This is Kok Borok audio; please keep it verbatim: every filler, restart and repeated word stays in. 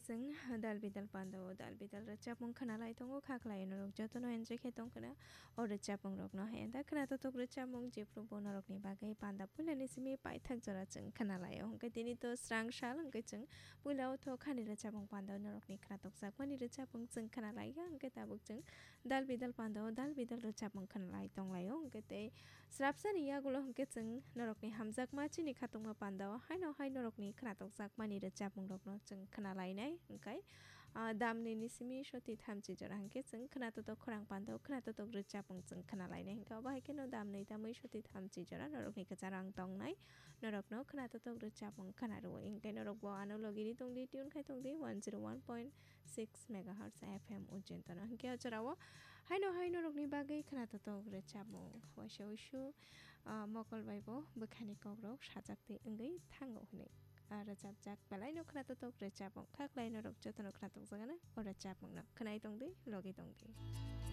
Chwng dal bidal panda o dal bidal rwchapmung khwnalai tongo, kha khlai norok jotono enjoy khe tongkhwna o rwchapmung rokno. Hai da khwnatotok rwchapmung jephru bo norokni bagwi panda puilani simi paithak jora chwng khwnalai o. Hwnkhe tini to srang sal hwnkhe chwng puila o tho khani rwchapmung panda o norokni khwnatokjakmani rwchapmung chwng khwnalai ya, hwnkhe tabuk chwng dal bidal panda o dal bidal rwchapmung khwnalai tonglai o. Hwnkhe tei srapsani yagulo hwnkhe chwng norokni hamjakma chini khatungma panda o haino hai norokni khwnatokjakmani rwchapmung rokno chwng khwnalainai hwnkhe, ah, damni ni simi soti thamchi jora hwnkhe chwng khwnatotok khorang panda o khwnatotok rwchapmung chwng khwnalainai hwnkhe obo hai kheno damni tamwi soti thamchi jora norokni kwcharo ang tongnai norokno khwnatotok rwchapmung khwnarwo hwnkhe norokbo ano logiri tongdi tune khai tongdi one zero one point six megahertz F M ujintono. Hwnkhe o jorao haino hai norokni bagwi khwnatotok rwchapmung waisa uisu, ah, mokol bai bo bwkhani kokrok sajak twi wngwi thango hwnwi, ah, rwchapjak belaino khwnatotok rwchapmung kha khlai norok jotono khwnatokjakgana o rwchapmungno khwnai tongdi logi tongdi.